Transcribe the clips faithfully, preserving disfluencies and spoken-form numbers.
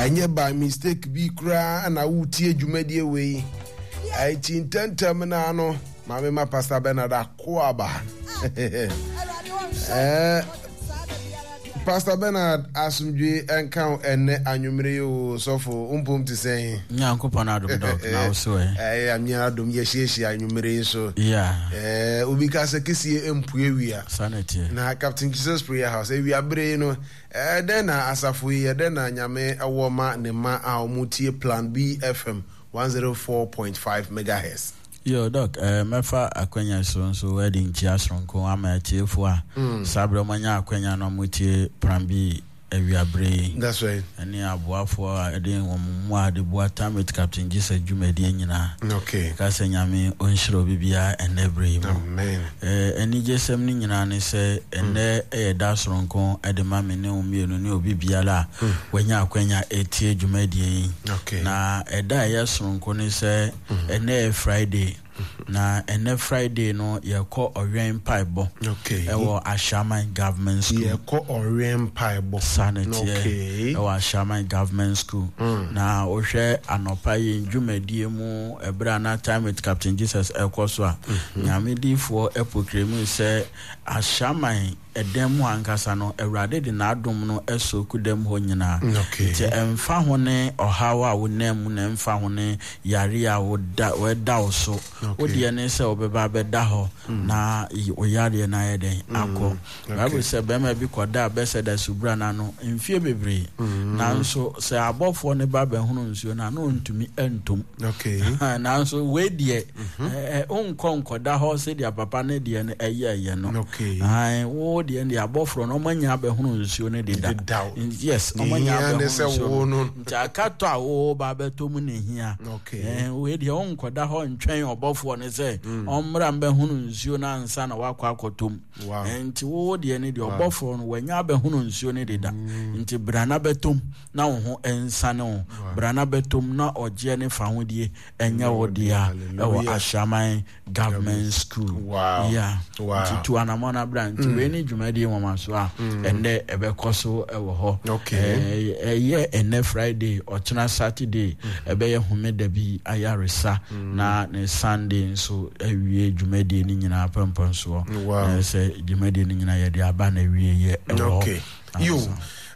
Ɛnyɛ by mistake bi koraa na wotie dwumadie wei. Ɛnti ntɛntɛm no ano, maame ma Pastor Bernard Akoaba. Eh, Pastor Bernard, asomdwe nka wo ɛnɛ anwummere yi o, sɔfo, mpom te sɛn? Nyankopɔn adom dɔk, na wo so ɛ? Ɛyɛ amia adom, yɛhyiahyia anwummere yi so. Yeah. Eh, obi ka sɛ kesie mpue wia. Saa na ɛteɛ. Na Captain Jesus Prayer House, awia bere yi no, eh, dɛn na asafo yi, ɛdɛn na Nyame ɛwɔ ma ne ma a wɔn tie Plan B F M one zero four point five megahertz? Yo, Doc, eh, mɛfa akwanya so nso adi nkyia soronko ama atiefo a mm. saa berɛ wɔanya akwanya na wɔtie Plan B awiabere yi. That's right. Ɛne aboafoɔ a ɛde wɔn mmoa de boa Time with Captain Jesus dwumadie nyinaa. Okay. Ka sɛ Nyame ɔnhyira obi biara ɛnnɛ berɛ yi mu. Amen. Eh, anigyesɛm no nyinaa ne sɛ ɛnnɛ ɛyɛ da soronko de ma me ne wo mmienu ne obi biara a mm. wanya akwanya ɛtie dwumadie yi. Okay. Na ɛda a ɛyɛ soronko ne sɛ ɛnnɛ yɛ Friday. Na ɛnnɛ Friday no yɛkɔ ɔwɛn mpaebɔ ɛwɔ Ashaiman Government School. Yɛkɔ ɔwɛn mpaebɔ. Saa na ɛteɛ ɛwɔ Ashaiman Government School. Mm. Na wohwɛ anɔpa yi dwumadie mu ɛberɛ a na Time with Captain Jesus ɛkɔ so a, mm-hmm. Nyame diifoɔ ɛpokremu sɛ Ashaiman ɛdan mu ankasa no, Awurade de n'adom no soku dam hɔ nyinaa. Nti ɛmfa ho ne ɔhaw a wonam mu na ɛmfa ho ne yare a woda wɔda wo so, wo deɛ ne sɛ wobɛba abɛda hɔ na wo yareɛ no ayɛ dɛn akɔ. Bible sɛ bɛrima bi kɔdaa Bethesda subura no ano mfie bebree, nanso sɛ abɔfoɔ no ba bɛhono nsuo no a, na ɔntumi ntom. Nanso wei deɛ, wonkɔ nkɔda hɔ sɛdeɛ papa no deɛ no ɛyɛɛyɛ no. Wo deɛ deɛ abɔfoɔ no ɔmanya abɛhono nsuo no deda. Yes, ɔmanya abɛhono nsuo no. Nti akatɔ a wo ba bɛtɔ mu na ehia. Wei deɛ wonkɔda hɔ ntwɛn ɔbɔfoɔ no sɛ ɔmmra mbɛhono nsuo no ansa na wakɔ akɔtɔ mu. Nti wo deɛ no deɛ ɔbɔfoɔ no wanya abɛhono nsuo no deda. Nti bra na bɛtɔ mu na wo ho nsane wo. Bra na bɛtɔ mu na ɔgyeɛ ne fahodie ɛnyɛ wo dea ɛwɔ Ashaiman Government School. Wow. Yeah. Wow. Nti tu anamɔ na bra. Nti wei ne dwumadie nwoma so a ɛnnɛ ɛbɛkɔ so ɛwɔ hɔ. Okay. Ɛyɛ ɛnnɛ Friday, ɔkyena Saturday, ɛbɛyɛ homeda bi ayaresa na ne Sunday nso awie dwumadie no nyinaa pɛmpɛnsoɔ. Wow. Na sɛ dwumadie no nyinaa yɛde aba na awie yɛ ɛwɔ hɔ. Okay. Yo.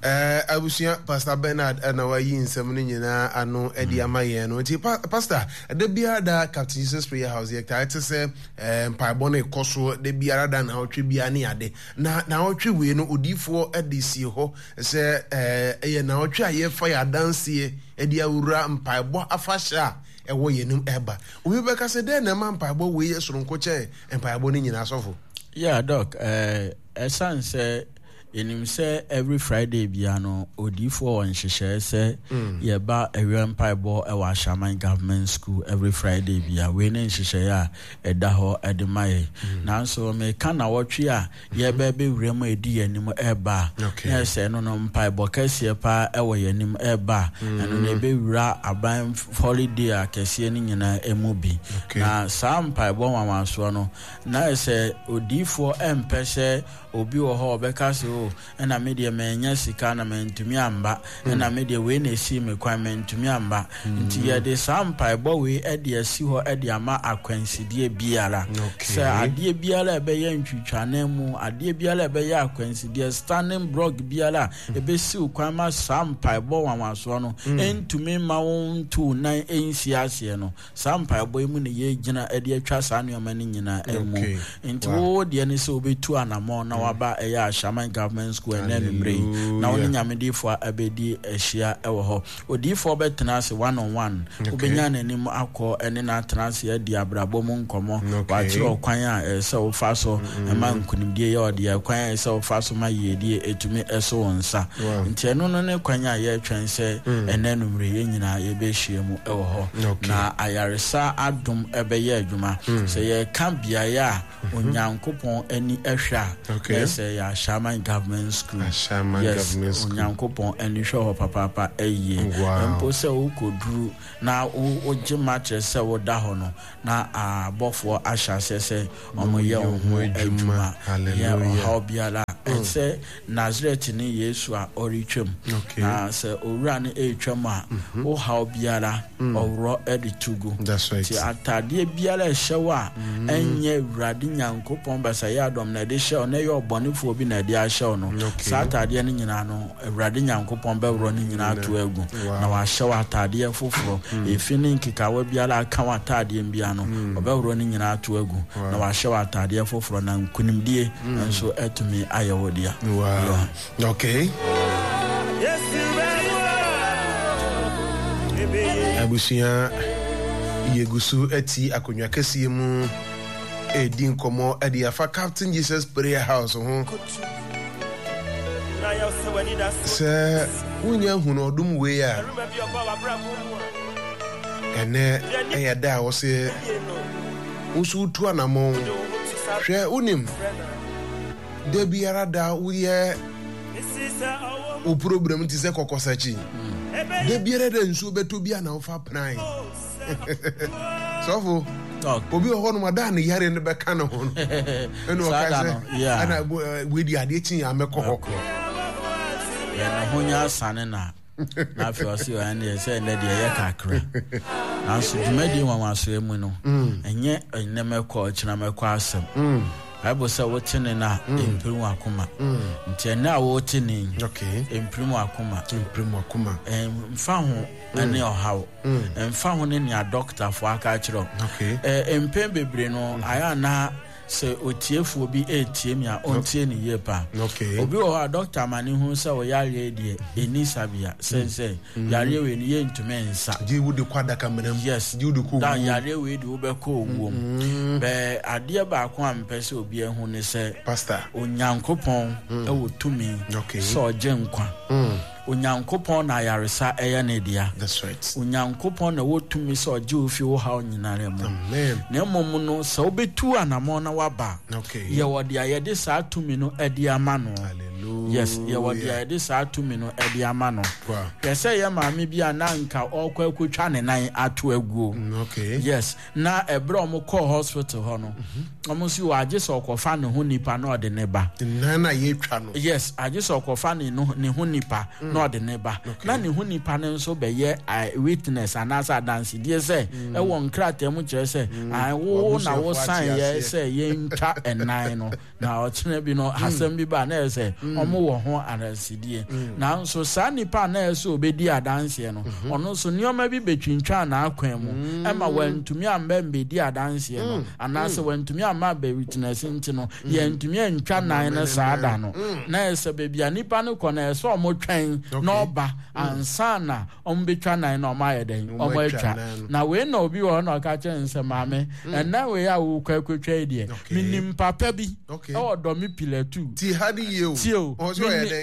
Eh, abusua Pastor Bernard na wayi nsɛm no nyinaa ano de ama yɛn no. Nti pa, Pastor, da biara da Captain Jesus Prayer House yɛ taa te sɛ eh, mpaebɔ no ɛkɔ so da biara da na ɔtwe biara ne ade. Na na ɔtwe wei no odiifoɔ de sie hɔ sɛ eh, ɛyɛ na ɔtwe a yɛfa yɛ adanseɛ de awura mpaebɔ afahyɛ a ɛwɔ yɛn anim ɛba. Obi bɛka sɛ dɛn na ɛma mpaebɔ wei yɛ soronko kyɛn mpaebɔ no nyinaa, sɔfo? Yeah, Doc, eh, ɛsan sɛ yɛnim sɛ every Friday bia no odiifoɔ wɔ nhyehyɛɛ sɛ yɛba awia mpaebɔ wɔ Ashaiman Government School every Friday bia. Wei ne nhyehyɛɛ a ɛda hɔ de ma yɛ. Nanso meka nawɔtwe a yɛbɛ bɛwura mu edi yɛn anim ɛba a, na ɛsɛ ɛno no mpaebɔ kɛseɛ paa ɛwɔ yɛn anim ɛba a, ɛno no ɛbɛwura aban holiday a kɛseɛ no nyinaa ɛmu bi. Na saa mpaebɔ nwanwasoɔ no, na ɛsɛ odiifoɔ ɛmpɛ sɛ obi wɔ hɔ ɔbɛka sɛ o, ɛna me deɛ manya sika na mantumi amba, ɛna me deɛ wei na esi me kwan mantumi amba. Nti yɛde saa mpaebɔ wei ɛde asi hɔ ɛde ama akwansideɛ biara. Sɛ adeɛ biara ɛbɛyɛ ntwitwane mu, adeɛ biara ɛbɛyɛ akwansideɛ, standing block biara ɛbɛsiw kwan ma saa mpaebɔ nwanwasoɔ no ɛntumi mma wo ntu nan ɛnsi aseɛ no. Saa mpaebɔ yi mu na yɛgyina de atwa saa nneɛma no nyinaa mu. Nti wo deɛ ne sɛ wobɛtu anammɔn na waba ɛyɛ Ashaiman Government School ɛnɛ anwummerɛ yi na wo ne Nyamediifoɔ abɛdi ahyia ɛwɔ hɔ. Odiifoɔ bɛtena ase one on one, wobɛnya n'anim akɔ ɛne no atena ase adi abrabɔ mu nkɔmmɔ, wakyerɛ ɔkwan a ɛsɛ sɛ wofa so ɛma nkonimdie yɛ ɔdeɛ, kwan a ɛsɛ sɛ wofa so ma yiedie ɛtumi ɛso wo nsa. Nti ɛno no ne kwan a yɛretwɛn sɛ ɛnɛ anwummerɛ yɛn nyinaa yɛbɛhyia mu ɛwɔ hɔ. Na ayaresa adom ɛbɛyɛ adwuma. Sɛ yɛka beaeɛ a Onyankopɔn ani ɛhwɛ a, na ɛsɛ yɛ Ashaiman Government School. Yes, Onyankopɔn ani hwɛ hɔ papaapa ɛyie. Mpo sɛ wokɔduru na wogye ma kyerɛ sɛ woda hɔ no, na abɔfoɔ ahyɛ aseɛ sɛ wɔyɛ wo ho adwuma. Yɛ ɔhaw biara ɛsɛ Nasaretni Yesu a ɔretwam. Na sɛ owura no retwam a, mhm. wo haw biara mm. ɔworɔ de to gu. Nti ataadeɛ biara ɛhyɛ wo a mm. ɛnyɛ Awurade Nyankopɔn basayɛ adɔm na ɛde hyɛ wo na ɛyɛ ɔbɔnefoɔ bi na ɛde ahyɛ wo no. Saa ataadeɛ no nyinaa no, Awurade Nyankopɔn bɛworɔ no nyinaa ato agu na wahyɛ wo ataadeɛ foforɔ. Mm. Efi ne nkekawa biara aka wo ataadeɛ biara no, ɔbɛworɔ no nyinaa ato agu na wahyɛ wo ataadeɛ foforɔ na nkonimdie nso atumi ayɛ wo dea. Wow. Okay. Abusua yɛgu so ati akonnwa kɛseɛ mu ɛredi nkɔmmɔ de afa Captain Jesus Prayer House ho. Sɛ wonya hunu ɔdom wei a, ɛnɛ ɛyɛ da a wɔsɛ wo nso wotu anammɔn. Hwɛ, wonim, da biara da woyɛ wo program te sɛ kɔkɔsakyi. Da biara da nsuo bɛtɔ bi a na wofa pran. Sɔfo, obi wɔ hɔnom a da ne yare no bɛka ne ho no. Ɛna ɔka sɛ, ɛna wei di adeɛ kyi a mɛkɔ hɔ. Yɛn ho nyɛ asane na. Na afei ɔse ɔyɛ deɛ sɛ ɛnɛ deɛ ɛyɛ kakra nanso dwumadie nwanwasoɛ mu no mm. ɛnyɛ ɛnɛ mɛkɔ ɔkyena mɛkɔ asɛm mm. Bible sɛ wote ne no a mm. ɛmpirim w'akoma nti ɛnɛ a wote ne ɛmpirim w'akoma ɛmfa ho ɛne ɔhaw ɛmfa ho ne nea dɔktafoɔ aka akyerɛ mpɛn bebree no ayɛ anaa Sɛ otiefoɔ bi retie me a, ɔntie no yie paa. Obi wɔ hɔ a, dɔkta ma no hu sɛ wo yareɛ yi deɛ, ɛnni sabea. Sɛ sɛ yareɛ wei no, yɛntumi nsa. Gye wode kɔ adakamena mu. Yes. Gye wode kɔ owuo mu. Yareɛ wei deɛ wobɛkɔ owuo mu. Bɛɛ adeɛ baako a mepɛ sɛ obi ahu ne sɛ, Pastor. Onyankopɔn wɔ tumi sɛ ɔgye nkwa. Onyankopɔn na ayaresa yɛ ne dea. That's right. Onyankopɔn na ɛwɔ tumi sɛ ɔgye wo fi wo haw nyinara mu. Amen. Na mmom no, sɛ wobɛtu anamɔn na woaba a, okay. Yɛwɔ deɛ yɛde saa tumi no adi ama no. Hallelujah. Yes, yɛwɔ deɛ yɛde saa tumi no adi ama no. Wow. Hwɛ sɛ yɛ maame bi a na anka ɔrekɔ akɔtwa ne nan ato aguo. Mm, okay. Yes, na ɛberɛ a wɔkɔɔ hospital hɔ no, wɔn nso wɔ agye sɛ ɔkɔfa ne ho nipa na ɔde ne ba. Nan a yɛtwa no. Yes, agye sɛ ɔkɔfa ne no ne ho nipa mm. na ɔde ne ba. Okay. Na ne ho nipa no nso bɛyɛ uh, witness anaasɛ adansedie sɛ mm. ɛwɔ nkrataa mu kyerɛ sɛ mm. wo na wosan yɛ sɛ yɛntwa ɛnan no. Na ɔkyena bi no, asɛm bi ba a, na ɛyɛ sɛ wɔwɔ ho adansedie. Nanso saa nipa a na ɛyɛ sɛ ɔbɛdi adanseɛ no, ɔno nso nneɛma bi bɛtwintwaa n'akwan mu ma wantumi amma mmɛdi adanseɛ no, anaasɛ wantumi amma abɛwitnɛse nti no, yɛantumi antwa nan no saa da no. Na ɛyɛ sɛ baabi a nipa no kɔ no, ɛyɛ sɛ wɔtwɛn na ɔba ansa na wɔbɛtwa nan na wɔayɛ dɛn? Wɔatwa. Na wei na obi wɔ hɔ na ɔka kyerɛ no sɛ, maame, mm. ɛnan wei a wokɔ akɔtwa yi deɛ, menim papa bi ɛwɔ dɔme pilatu. Ti ha ne yie o. Tie o.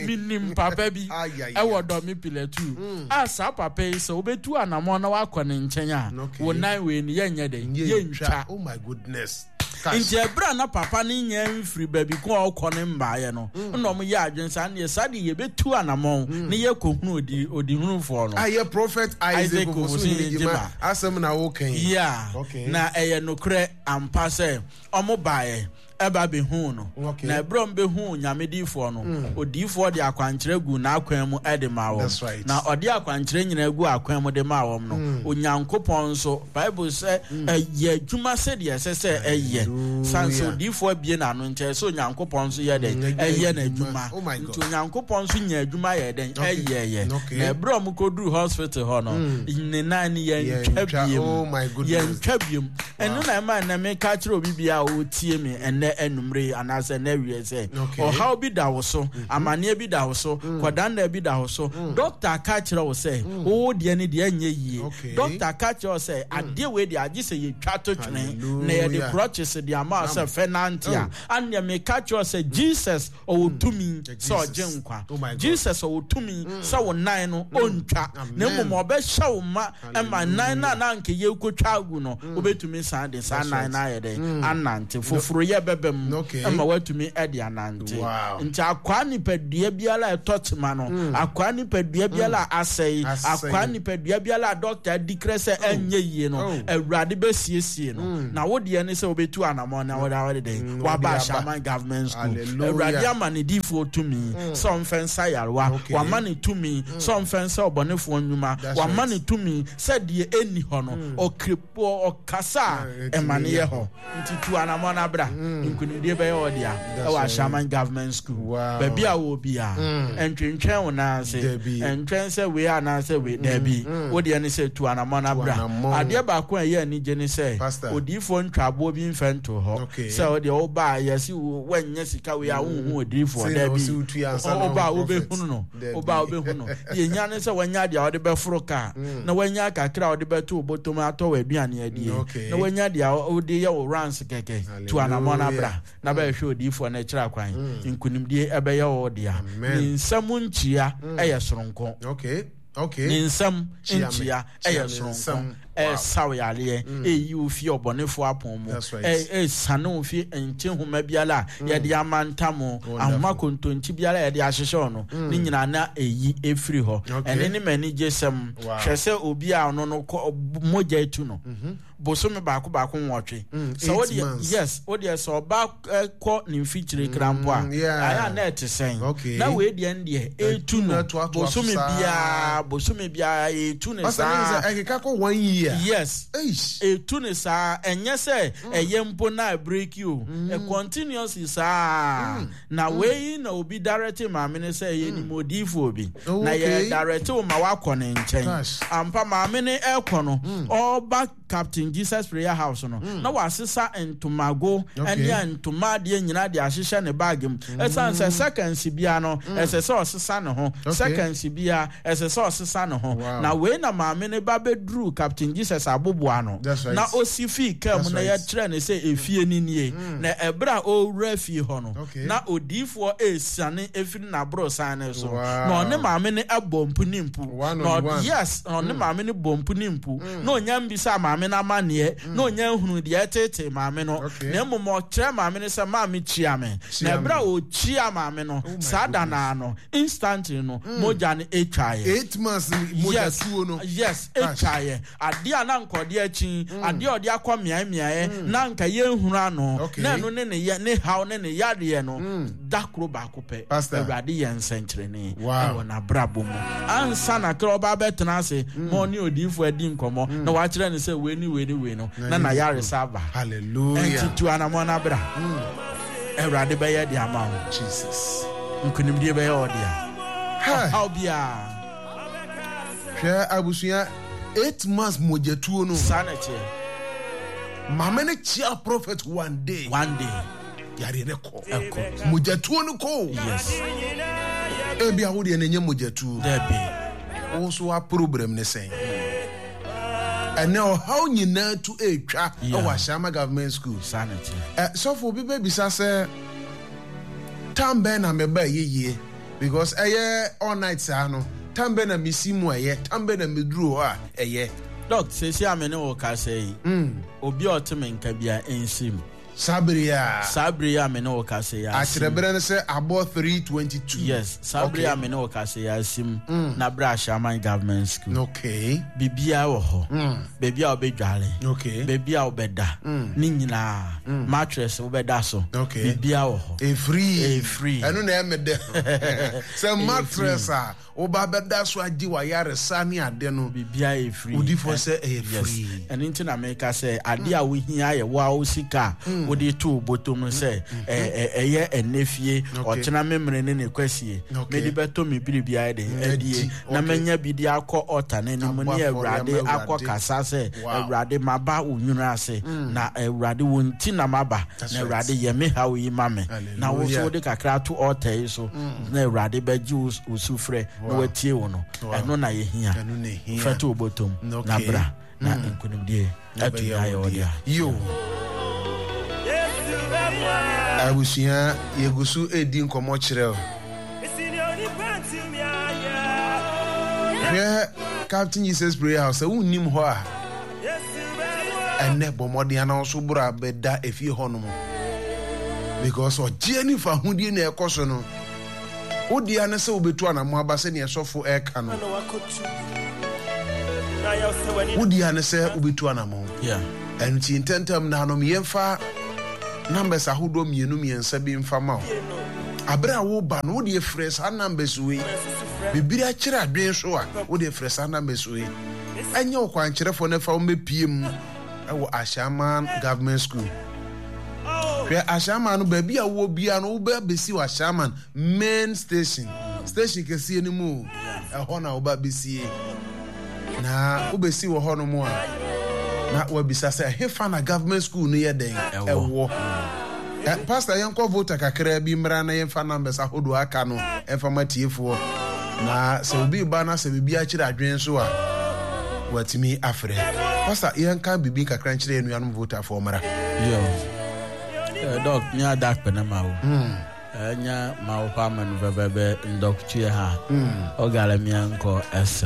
Menim papa bi ɛwɔ dɔme pilatu. Mm. A saa papa yi sɛ wobɛtu anammɔn na woakɔ ne nkyɛn a, wo nan wei no yɛnyɛ dɛn? Yɛntwa. Oh my goodness. Nti ɛberɛ a na papa no nnya mfiri baabi ko a ɔkɔ no mmaeɛ no, mm. na wɔn yɛ adwene saa neɛ saa deɛ yɛbɛtu anamɔn mm. ne yɛkɔhunu odi odihunufoɔ no. Ayɛ Prophet Isaac Ofosu Gyima asɛm na woka yi. Yeah. Okay. Na ɛyɛ nokorɛ ampa sɛ wɔn baeɛ ɛba bɛhuu no. Okay. Na ɛberɛ a wɔbɛhuu Nyame diifoɔ no, mm. odiifoɔ de akwankyerɛ guu n'akwan mu de maa wɔn. That's right. Na ɔde akwankyerɛ nyinaa gu akwan mu de maa wɔn no, mm. Onyankopɔn nso Bible sɛ ɛyɛ adwuma sɛdeɛ ɛsɛ sɛ ɛyɛ. San sɛ odiyifoɔ abue n'ano nti ɛsɛ sɛ Onyankopɔn nso yɛ dɛn? Ɛyɛ n'adwuma. Oh nti Onyankopɔn nso nya adwuma yɛ dɛn? Ɛyɛyɛ. Na ɛberɛ a wɔkɔduru hospital hɔ no, ne nan no yɛntwa biem. Oh yɛntwa biem. Ɛno na ɛma ɛnɛ meka kyerɛ obi biara a ɔretie me ɛnɛ anumere yi anaasɛ ɛnɛ awie sɛ ɔhaw bi da wo so, amanneɛ bi da wo so, kɔdanna bi da wo so. Dɔkta ka kyerɛ wo sɛ wo deɛ no deɛ ɛnyɛ yie. Dɔkta ka kyerɛ wo sɛ adeɛ wei deɛ agye sɛ yɛtwa to twene na yɛde crutches de ama wo sɛ fɛ nante a, aneɛ meka kyerɛ wo sɛ Jesus ɔwɔ tumi sɛ ɔgye nkwa. Jesus ɔwɔ tumi sɛ wo nan no ɔntwa, na mmom ɔbɛhyɛ wo ma ma nan no a na anka yɛrekɔtwa agu no, wobɛtumi san de saa nan no ayɛ dɛn anante foforo yɛ bɛbɛ mu ma woatumi de anante. Nti akwaa nipadua biara a ɛtɔ kyema no, akwaa nipadua biara a asɛe, akwaa nipadua biara a dɔkta adi krɛ sɛ ɛnyɛ yie no, Awurade bɛsiesie no. Na wo deɛ ne sɛ wobɛtu anammɔn na wode awɔde dɛn waba Ashaiman Government School. Awurade ama ne diifoɔ tumi sɛ ɔmfɛ nsa yarewa, wama ne tumi sɛ ɔmfɛ nsa ɔbɔnefoɔ nnwuma, wama ne tumi sɛ deɛ ɛnni hɔ no ɔkiripoɔ ɔkasa a ɛma ne yɛ hɔ. Nti tu anammɔn na bra, nkonimdie bɛyɛ wɔ dea ɛwɔ Ashaiman Government School. Baabi a wɔ biara, ɛntwentwɛn wo nan ase, ɛntwɛn sɛ wei anaasɛ wei, daabi, wo deɛ ne sɛ tu anammɔn na bra. Adeɛ baako a ɛyɛ anigye ne sɛ odiyifoɔ ntwa aboɔ bi mfɛ nto hɔ sɛ wo deɛ woba a yɛsi woanyɛ sika wei a wonhu odiyifoɔ, daabi, woba a wobɛhunu no, woba a wobɛhunu no. Deɛ hia ne sɛ wanya deɛ wode bɛforo kaa, na wanya kakra a wode bɛto wo bɔtɔm atɔ w'aduane adie, na wanya deɛ wode yɛ wo runs kɛkɛ. Tu anammɔn na bra na bɛhwɛ odiyifoɔ no akyiri akwan. Nkonimdie ɛbɛyɛ wo dea. Ne nsam nkyia ɛyɛ soronko. Ne nsam nkyia ɛyɛ soronko. Ɛsaw yareɛ, ɛyi wo fi ɔbɔnefoɔ apɔn mu, ɛsane wo fi nkye nhoma biara a yɛde ama ntam, ahoma kontonkyi biara a yɛde ahyehyɛ no, ne nyinaa na ɛyi ɛfiri hɔ. Ɛne ne m'ani gye sɛm. Hwɛ sɛ obi a ɔno no mogya etu no, bosome baako baako nwɔtwe. Sɛ wo deɛ, yes, wo deɛ sɛ ɔba kɔ ne mfikyire kra mpo a, ayɛ a na ɛte sɛn. Na wei deɛ ndeɛ etu no bosome biara, bosome biara etu ne saa. Ɛkeka kɔ one year. Yes. Etu ne saa. Ɛnyɛ sɛ ɛyɛ mpo na break o. Continuously saa. Na wei na obi direct maame ne sɛ yɛ ni modiifo bi. Na yɛ direct wo ma wakɔ ne nkyɛn. Ampa maame ne ɛkɔ no, ɔba Captain Jesus Prayer House no, na wasesa ntomago ɛne ntoma adeɛ nyinaa de ahyehyɛ ne bag mu. Ɛsan sɛ seconds bia no, ɛsɛ sɛ ɔsesa ne ho. Seconds bia ɛsɛ sɛ ɔsesa ne ho. Na wei na maame ne ba bɛduru Captain Jesus aboboa no. Na osi fii kaa mu na yɛkyerɛ ne sɛ efie ni nie. Na ɛberɛ a ɔwura fie hɔ no, na odiifoɔ esiane efiri n'aborosan ne so. Na ɔne maame ne ɛbɔ mpu ne mpu. Na yes, na ɔne maame ne bɔ mpu ne mpu. Na onya mbisa maame na amaneɛ, na onya nhunu deɛ ɛtete maame no. Na mmom ɔkyerɛ maame no sɛ maame kyia me. Na ɛberɛ a ɔkyia maame no, saa da naa no, instantly no, mogya no etwaeɛ. Eight months mogya tuo no. Yes, etwaeɛ. Adeɛ a na nka ɔde akyi, adeɛ a ɔde akɔ mmeae mmeae, na nka yɛnhunu ano, na ɛno ne ne yɛ ne haw ne ne yareɛ no, da koro baako pɛ. Awurade yɛ nsɛnkyerɛnne ɛwɔ n'abrabɔ mu. Ansa na kra ɔba abɛtena ase, ma ɔne odiyifoɔ adi nkɔmmɔ, na wakyerɛ no sɛ wei ne wei ne wei no, na n'ayaresa aba. Hallelujah. Ɛnti tu anammɔn na bra. Awurade bɛyɛ de ama wo. Jesus. Nkonimdie bɛyɛ wo dea. Ɔhaw biara. Hwɛ abusua, eight months mogyatuo no. Saa na ɛteɛ. Maame ne kyia prophet one day. One day. Yareɛ ne kɔ. Ɛkɔ. Mogyatuo no kɔ. Yes. Ebi awo deɛ n'enye mogyatuo. Dabi. Wo nso wa problem ne sɛn. Ɛnɛ ɔhaw nyinaa tu etwa ɛwɔ Ashaiman Government School. Saa na ɛteɛ. Ɛ sɔfo obi bɛbisa sɛ time bɛn na meba ɛyɛ yie, because ɛyɛ all night saa no, time bɛn na mesi mu ɛyɛ, time bɛn na meduru hɔ a ɛyɛ. Doc, seesei a me ne wo kasa yi, obi a ɔte me nka bia nsi mu. Saa bere a. Saa bere a me ne wo kasa yi asim. Akyerɛberɛ no sɛ abɔ three twenty two. Yes, saa bere a me ne wo kasa yi asim na bere Ashaiman Government School. Okay. Biribiara wɔ hɔ. Baabi a wobɛdwale. Okay. Baabi a wobɛda. Ne nyinaa. Mattress wobɛda so. Okay. Biribiara wɔ hɔ. Efiri. Efiri. Ɛno na ɛmɛ dɛ. Sɛ mattress a woba bɛda so agye wayaresa ne ade no. Biribiara yɛ free. Odifoɔ sɛ ɛyɛ free. Ɛno nti na meka sɛ ade a wohia yɛ wo a wo sika a wode to wo bɔtɔ mu sɛ ɛyɛ ɛnɛ fie, ɔkyena memere ne ne kwasie, mede bɛtɔ me biribiara de adie, na manya bi de akɔ ɔta no anim ne Awurade akɔ kasa sɛ Awurade maba wo nwunu ase, na Awurade wo nti na maba, na Awurade yɛ me haw yi ma me, na wo so wode kakra ato ɔta yi so, na Awurade bɛgye wo sufrɛ na watie wo no. Ɛno na yɛhia. Fɛto wo bɔtɔm na bra na nkonimdie atumi ayɛ wo dea. Yo. Abusua yɛgu so edi nkɔmmɔ kyerɛ o. Hwɛ Captain Jesus Prayer House sɛ wonnim hɔ a, Ɛnɛ bɔ mmɔden ana nso boro a bɛda efie hɔ nom because ɔgyeɛ ne fahodie na ɛkɔ so no. Wodeɛ ne sɛ wobɛtu anamo aba sɛnea sɔfo ɛka no. Wodeɛ ne sɛ wobɛtu anamo. Yeah. Ɛno nti ntɛntɛm na anom yɛmfa numbers ahodoɔ mmienu mmiɛnsa bi mfa ma wo. Abere a woba no, wodeɛ frɛ saa numbers wei. Bibiri akyerɛ adwene so a, wodeɛ frɛ saa numbers wei. Ɛnyɛ wo kwankyerɛfoɔ no fa wo mmɛpie mu ɛwɔ Ashaiman Government School. Hwɛ Ashaiman no, baabi a wowɔ biara no, wobɛ bɛsi wɔ Ashaiman main station. Station kɛseɛ no mu o, ɛhɔ na woba bɛsie. Na wobɛsi wɔ hɔ nom a, na wabisa sɛ ɛhefa na government school no yɛ dɛn ɛwɔ. Eh, Pastor, yɛnkɔ Volta kakraa bi mmra na yɛmfa numbers ahodoɔ aka no ɛmfa ma tiefoɔ. Na sɛ obi ba na sɛ biribi akyerɛ adwene so a, watumi afrɛ. Pastor, yɛnka biribi kakra nkyerɛ yɛn nuanom Voltafoɔ mmra. Yo. Eh, Doc, mi ada akpe na ma wo. Enya ma wo pa menu veve be ndɔkutue ha. Ogale mia nkɔ ese.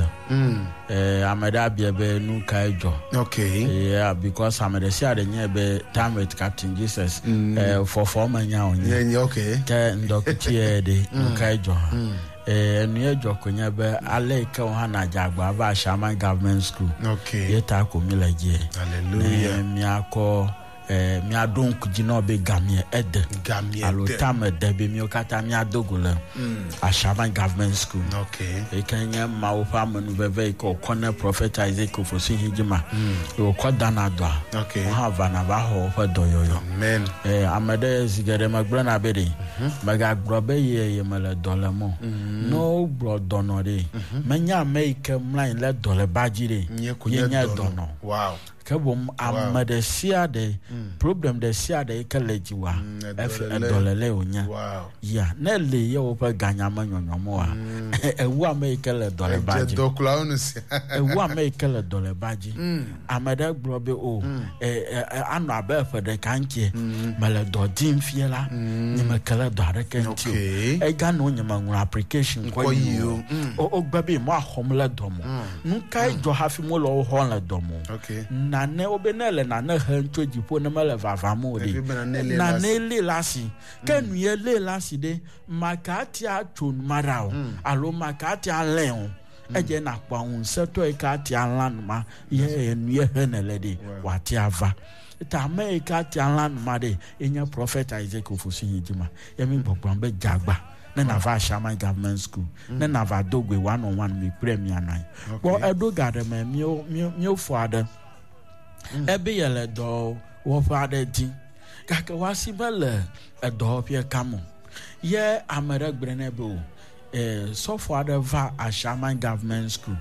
Eh, ame ɖe abia be nu kae dzɔ. Okay. Yeah, because ame ɖe sia ɖe nye be time with Captain Jesus. Eh, fɔfɔ me nya wònye. Yeah, yeah, okay. Ke ŋdɔkutue ɖe, nu kae dzɔ hã. Eh, enu ye dzɔ ko nye be ale yi ke wo hã nadze agba va Ashaiman Government School. Okay. Ye ta ko mi le dzie. Hallelujah. Ne miakɔ eh, miaɖo ŋku dzi na wo be gamie ede. Gamie Alo de. tame de be míawo katã míado go le Ashaiman Government School. Okay. Yi ke nye Mawu ƒe amenuveve yi ke wòkɔ ne Prophet Isaac Ofosu Hidzima. Yi wòkɔ dana dɔa. Okay. Wo hã vana va xɔ woƒe dɔyɔyɔ. Amen. Eh, ame ɖe zi geɖe megblɔna be ɖe megagblɔ be ye ye mele dɔ lém o. Ne wogblɔ dɔnɔ ɖe, menye ame yi ke mlɔ anyi le dɔleba dzi ɖe, Nye ko ye nye nye dɔnɔ. dɔnɔ. Wow. Ke boŋ ame ɖe sia ɖe, problem ɖe sia ɖe yi ke le dziwòa, efi edɔlele. edɔlele wònye. Wow. Ya, ne le ye woƒe ganya me nyɔnyɔm oa, ewu ame yi ke le dɔleba Edze dzi. dɔkulawo nu sia. Ewu ame yi ke le dɔleba dzi. Ame ɖe gblɔ be o, e, e, e, anɔ abe eƒe ɖeka ŋutie, mele dɔ dim fie la, nye meke le dɔ aɖeke ŋuti o. Okay. Ega no nye meŋlɔ application kɔ Kɔ yi yi o. o. Mm. O wogbe be moaxɔm le dɔ me o. Nu kae dzɔ hafi mole wo xɔm le dɔ me o? Okay. Nane wobe ne le nane hem tso dziƒo ne mele vavam o ɖe. Ebi be nane lé le Nane asi. lé le asi. Ke nu ye lé le asi ɖe, maka tia tso nu ma ɖa o. Alo maka tia lẽ o. Edze na kpɔ ŋusẽtɔ yi ke atia lã nu ma, ye enu ye he ne le ɖe, wòatia va. Ta ame yi ke atia lã nu ma ɖe, enye Prophet Isaac Ofosu Hidzima. Ye mi gbɔgblɔm be dzagba ne nava Ashaiman Government School, ne nava do goe one on one mi kple mia nɔ anyi. Kpɔ eɖo ga ɖe me míwo míwo míwo fɔ aɖe. Ebe ye le dɔwɔƒe aɖe dim gake woasi mele edɔwɔƒea kam o. Ye ame ɖe gblɔ nɛ be o, eh, sɔfo aɖe va Ashaiman Government School.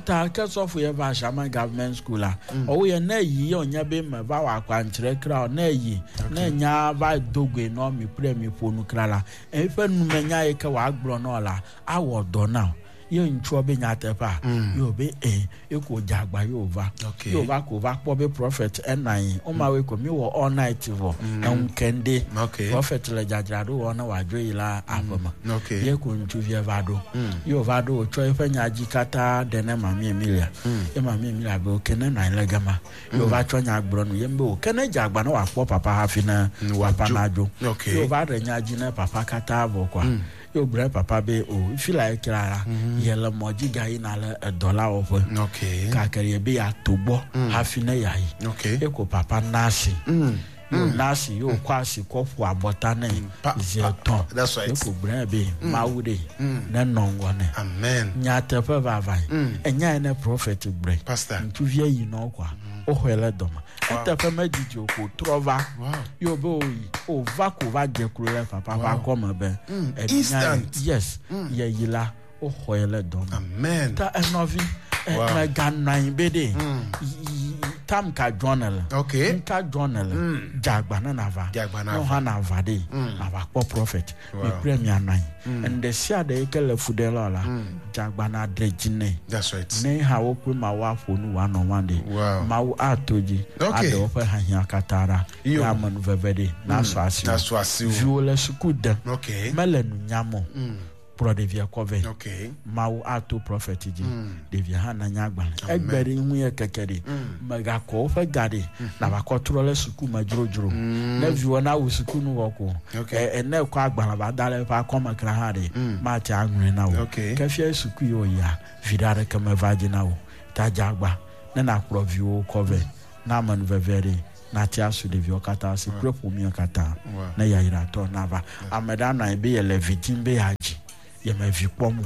Ta ke sɔfo ye va Ashaiman Government School la, ɔwo ye ne yi ye wònye be meva wɔ akwankyerɛ kra o, ne yi, ne nya va do goe nɔ mi kple mi ƒo nu kra la, eƒe numenya yi ke wòagblɔ nɔ la, awɔ dɔ na o. Ye ŋutsua be nyateƒea, ye wòbe eh, ye ko dze agba ye wòva. Okay. Ye wòva ko va kpɔ be prophet enɔ anyi. Woma woe ko mi wɔ all night vɔ. Eŋu kende. Okay. Prophet le dzadzraɖo wɔ ne wòadzo yi la aƒe me. Okay. Ye ko ŋutsuvia va ɖo. Ye wòva ɖo wòtsɔ eƒe nya dzi katã ɖe ne Mami Emilia. Ye Mami Emilia be okay ne nɔ anyi le gama. Ye wòva tsɔ nya gblɔ nu. Ye be o ke ne dze agba ne wòakpɔ papa hafi ne papa wòadzo. nadzo. Okay. Ye wòva ɖe nya dzi ne papa katã vɔ koa. Ye wògblɔ ne papa be o fi la ye kra la, ye le mɔ dzi gayina le edɔ la wɔƒe. Okay. Gake ye be yeato gbɔ hafi ne yeayi. Okay. Ye ko papa na asi. Ye wòna asi, ye wòkɔ asi kɔ ƒo abɔta nɛ Pa- zi pa- etɔ̃. That's right. Ye ko gblɔ nɛ be Mawu ɖe nenɔ ŋgɔ nɛ. Amen. Nyateƒe vavae. Enyae ne prophet gblɔe. Pastor. Ŋutsuvia yi nɔ kɔa, woxɔe le dɔme. Eteƒe medidi o ko trɔ va. Wow. Ye wòbe wòyi, wòva ko va dze klo le papa ƒe akɔme be. enyae- Instant. Yes. Yeyi la, woxɔe le dɔme. Amen. Ta enɔvi, ɛ, Wow. meganɔ anyi be ɖe, yi- yi- tam ka dzɔ ne le. Okay. Nka dzɔ ne le. Dze agba ne nava. Dze agba Ne nava. hã nava ɖe, nava kpɔ prophet. Wow. Mi kple mianɔ anyi. Enu ɖe sia ɖe yi ke le fu ɖe la o la, dze agba na ɖe dzi nɛ. That's right. Ne hã wo kple Mawu aƒo nu one on one ɖe. Wow. Mawu ato dzi. Okay. Aɖe woƒe hiahiã katã ɖa. Yo. Ye amenuveve ɖe nasɔ asi wo. Nasɔ asi wo. Viwo le suku dem. Okay. Mele nu nyam o. Kplɔ ɖevia kɔ vɛ. Okay. Mawu ato prophet dzi. Ɖevia hã nanya agbalẽ. Egbe ɖe ŋu ye keke ɖe. Mègakɔ woƒe ga ɖe. Nava kɔ trɔ le suku me dzrodzro. Ne viwò na wu suku nu vɔ ko. Okay. Ɛ ne ekɔ agbalẽ va da ɖe eƒe akɔme kra hã ɖe. Mate aŋlɔe na wò. Okay. Ke fia suku yi wòyia, viɖe aɖeke meva dzi na wò. Ta dze agba ne nakplɔ viwòwo kɔ vɛ. Na amenuveve ɖe nate asu ɖeviwo katã si kple ƒomewo katã. Wow. Ne yayratɔ nava. Ame ɖe anɔ anyi be yele vi dim be yeadzi. Yeme vi kpɔm o.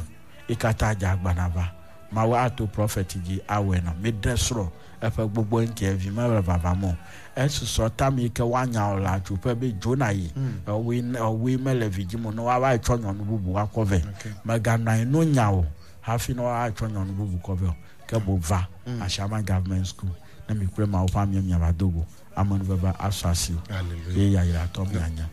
Yi katã dze agba nava. Mawu ato prophet dzi awɔe na. Miɖe srɔ̃ eƒe gbogbo ŋuti vi mele vavam o. Esusɔ tame yi ke woanya wò le atsuƒe be dzo na yi. Ewɔe ewɔe mele vi dzim o ne woava tsɔ nyɔnu bubu akɔ vɛ. Okay. Meganɔ anyi no nya o hafi ne woava tsɔ nyɔnu bubu kɔ vɛ o. Ke boŋ va Ashaiman Government School ne mi kple Mawu ƒe amewo miava do go. Amenuveve asu asi o. Hallelujah. Ye yayratɔ mianya.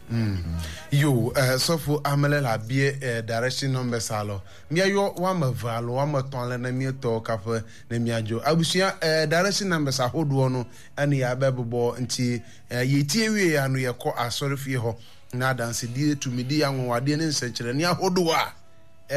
Yo, eh, sɔfo amele la bie eh, direction numbers alɔ. Miayɔ woame eve alo woame etɔ̃ ale ne mietɔ kaƒe ne miadzo. Abusua eh, direction numbers ahodoɔ no ɛne yɛabɛ bobɔ nti eh, yɛtie wie ya no yɛkɔ asɔre fie hɔ na adansedie tumidi anwanwadeɛ ne nsɛnkyerɛnne ahodoɔ a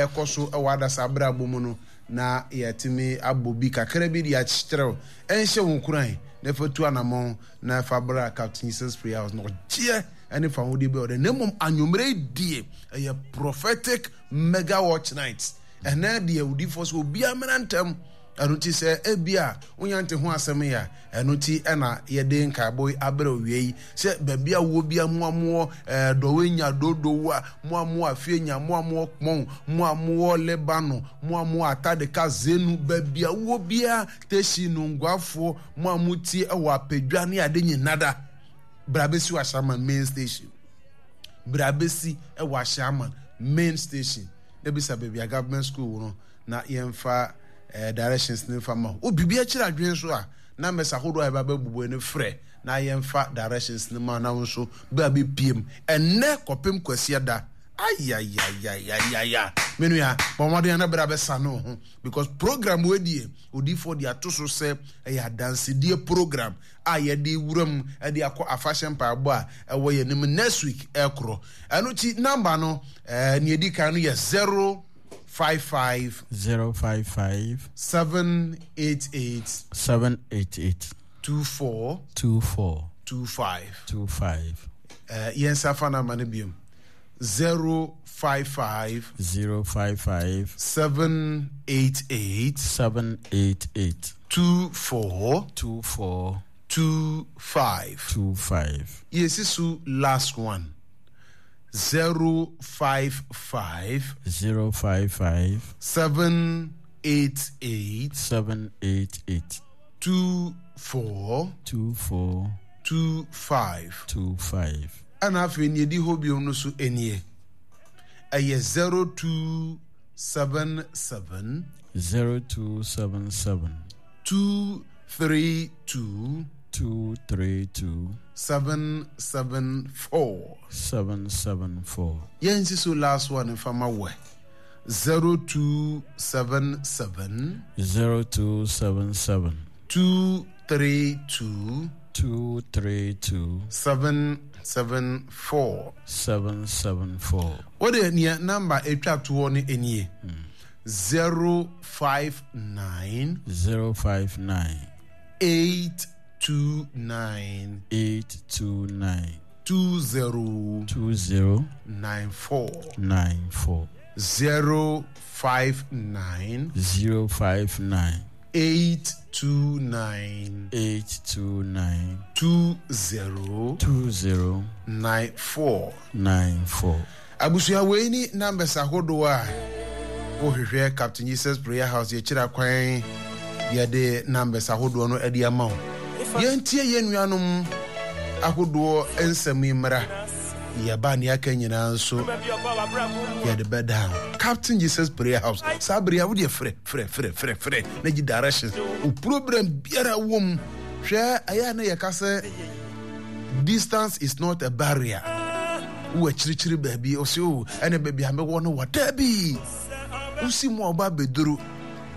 ɛkɔ so ɛwɔ adasa abrabɔ mu no na yɛtumi abɔ bi kakra bi de akyerɛw ɛnhyɛ wo nkuran na ɛfa tu anammɔn na ɛfa bra Captain Jesus Prayer House na ɔgyeɛ ɛne fa ahodeɛ bi a ɔde na mmom anwummerɛ yi die ɛyɛ prophetic mega watch night. Ɛnɛ deɛ odiifoɔ sɛ obiara mmra ntɛm. Ɛno nti sɛ ebi a wonya nte ho asɛm yi a, ɛno nti ɛna yɛde nkaebɔ yi abrɛ owie yi sɛ baabi a wowɔ bia mo a mowɔ ɛɛ Dɔwenya Dodowa, mo a mowɔ Afienya, mo a mowɔ Kpɔn, mo a mowɔ Lebanon, mo a mowɔ Atadeka Zenu, baabi a wowɔ bia Teshie Nungwafoɔ, mo a motie ɛwɔ Apedwa ne ade nyinada, bra bɛsi wɔ Ashaiman main station. Bra bɛsi ɛwɔ Ashaiman main station na bisa baabi a government school no na yɛmfa eh, directions ne mfa ma wo. Biribi akyerɛ adwene so a na mmɛsa ahodoɔ a yɛba bɛbobɔ no frɛ na yɛmfa directions ne ma na wo nso bɛ a bɛpiem ɛnnɛ kɔpem Kwasiada. Ayayayayaya, me nua, bɔ mmɔden na bra bɛsa ne wo ho because program wei deɛ odiifoɔ de ato so sɛ ɛyɛ adansedie program a yɛde wura mu de akɔ afahyɛ mpaebɔ a ɛwɔ yɛn anim next week ɛkorɔ. Ɛno ti number no ɛɛ nea edi kan no yɛ zero five five zero five five seven eight eight seven eight eight two four two four two five. two five. Ɛɛ yɛn nsa fa number no biom zero five five zero five five seven eight eight seven eight eight two four two four two five. two five. Yɛsi so last one zero five five zero five five seven eight eight seven eight eight two four two four two five. two five. Ɛna afei nea edi hɔ biom no so nie ɛyɛ zero two seven seven zero two seven seven two three two two three two seven seven four. seven seven four. Yɛn si so last one nfama wɛ zero two seven seven zero two seven seven two three two two three two seven seven four. seven seven four. Wode nea number etwa toɔ no nie zero five nine zero five nine eight two nine eight two nine two zero two zero nine four nine four zero five nine zero five nine eight two nine eight two nine two zero two zero nine four. nine four. Abusua wei ni numbers ahodoɔ a wohwehwɛ Captain Jesus Prayer House yɛkyerɛ kwan yɛde numbers ahodoɔ no de ama wo. Yɛntie yɛn nuanom ahodoɔ nsɛm yi mmra. Yɛba ne aka nyinaa nso yɛde bɛda ho. Captain Jesus Prayer House saa bere a wodeɛ frɛ frɛ frɛ frɛ frɛ na gye directions wo program biara wɔ mu. Hwɛ ɛyɛ a na yɛka sɛ distance is not a barrier. Wowɔ akyirikyiri baabi ɔsɛ o ɛne baabi a mewɔ no wɔ daabi wosi mu a ɔba abɛduru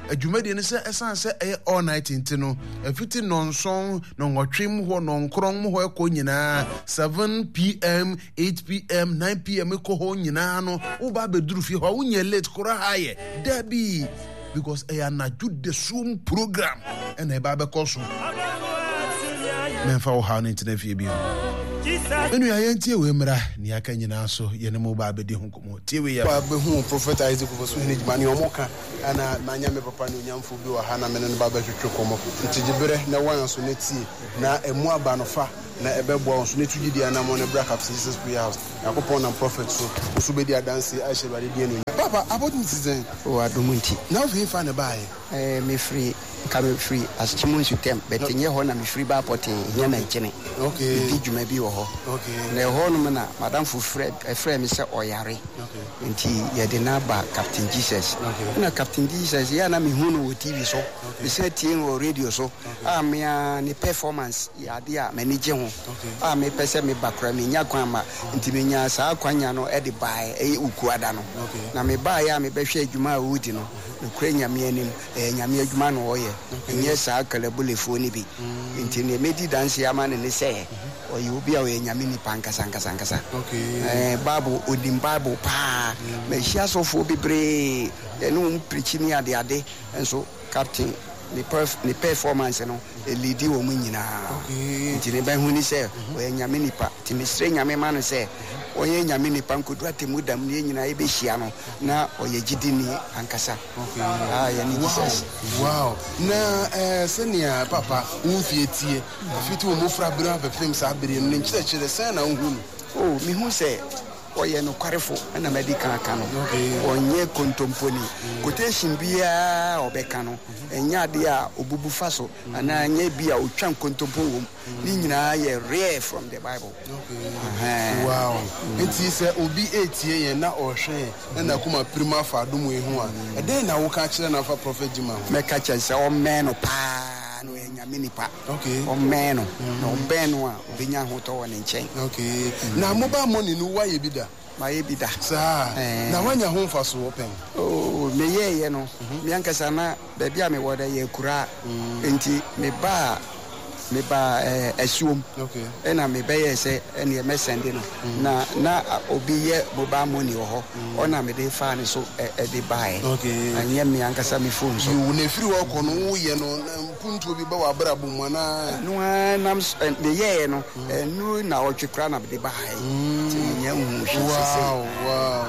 Adwumadie no sɛ ɛsan sɛ ɛyɛ all night nti no, ɛfiti nnɔnson, nnɔnwɔtwe mu hɔ, nnɔnkron mu hɔ ɛkɔ nyinaa, seven P M, eight P M, nine P M kɔ hɔ nyinaa no, woba abɛduru fie hɔ a, wonyɛ late koraa yɛ dabi, because ɛyɛ anadwo dasuom program ɛna ɛba abɛkɔ so. Mɛmfa wo haw no ntena fie bio. Ɛnua, yɛntie wei mmra ne aka nyinaa so, yɛne mo ba abɛdi ho nkɔmmɔ. Tie wei yɛ bɛhu Prophet Isaac Ofosuhene dwuma ne ɔmo ka, ɛna manya me papa ne onyamfo bi wɔ ha na mene no ba bɛtwetwe kɔmmɔ. Nti gye berɛ na wɔn so na tie na ɛmu aba no fa na ɛbɛboa wɔn so ne tu gyidi anammɔ no bra Captain Jesus Prayer House. Nyankopɔn nam prophet so wo so bɛdi adanse ahyɛ Awurade din anuonyam. Papa, abɔdom ti sɛn? O, adom nti. Na wofei fa ne baeɛ? Eh, mefiri nka mefiri Akyem Nsutɛm, but nyɛ hɔ na mefiri baa pɔtee, hia mankyene. Okay. Medi dwuma bi wɔ hɔ. Okay. Na ɛhɔ nom na madamfo frɛ ɛfrɛ me sɛ ɔyare. Okay. Nti yɛde no aba Captain Jesus. Okay. Na Captain Jesus yɛ a na mehu no wɔ T V so. Mesan tie no wɔ radio so. A mea ne performance yɛ ade a m'ani gye ho. Okay. A mepɛ sɛ meba koraa menya kwan ma. Nti menya saa kwanya no ɛde baeɛ, ɛyɛ Ukuada no. Okay. Na mebaeɛ a mebɛhwɛ adwuma a ɔredi no, nokorɛ Nyame anim, ɛyɛ Nyame adwuma na ɔyɛ. Ɛnyɛ saa kalabulefoɔ no bi. Nti nea mɛdi danseɛ ama no ne sɛ ɔyɛ obi a ɔyɛ Nyame nipa ankasa ankasa ankasa. Okay. Ɛɛ, Bible, onim Bible paa. Mahyia asɔfoɔ bebree, yɛne wɔn pirikyi ne adeade, nso Captain ne perf ne performance no elidi wɔn nyinaa. Okay. Nti ne bɛhu ni sɛ ɔyɛ Nyame nipa. Nti mesrɛ Nyame ma no sɛ ɔyɛ Nyame nipa nkodu atemu dam ne yɛn nyinaa yɛbɛhyia no na ɔyɛ gyidini ankasa. Okay. Ah, yɛne Wow. Jesus. Wow. Na eh, sɛnea papa wo mfie tie ɛfiti wo mmɔfra bere abɛpem saa bere no, ne nkyerɛkyerɛ sɛn na wohu no? O, mehu sɛ ɔyɛ nokwarefo, ɛna madi kan aka no. Okay. Ɔnyɛ kontomponi. Quotation biara a ɔbɛka no, ɛnyɛ adeɛ a obubu fa so anaa ɛnyɛ bi a otwa nkontompo wɔ mu. Ne nyinaa yɛ rare from the Bible. Okay. Ɛhɛn. Wow. Nti sɛ obi etie yɛn na ɔhwɛ yɛn na n'akoma pirim afa adom yi ho a, ɛdɛn na woka kyerɛ no afa Prophet Gyima ho? Mɛka kyerɛ sɛ ɔmmɛn no paa na ɔyɛ Nyame nipa. Okay. Ɔmmɛn no na ɔbɛn no a, obɛnya ahotɔ wɔ ne nkyɛn. Okay. Na mobile money no, woayɛ bi da? Mayɛ bi da. Saa? Eh. Na woanya ho mfasoɔ pɛn? Oh, meyɛɛyɛ no, me ankasa na baabi a mewɔ dɛ yɛ akuraa, nti mebaa mebaa eh, asuom. Okay. Ɛna mebɛyɛɛ sɛ ɛneɛ mɛsɛnde no na na a, obi yɛ mobile money wɔ hɔ, ɔna mede faa ne so ɛ- ɛde baeɛ. Okay. Ɛnyɛ me ankasa me phone so. Yiw, na ɛfiri hɔ kɔ no, woyɛ no na mpuntuo bi ba wɔ abrabɔ mu anaa? No ara nam s- ɛ, meyɛɛ no ɛnu na ɔtwe koraa na mede baeɛ, nti menyɛ nhu hwee sesei. Wow, wow.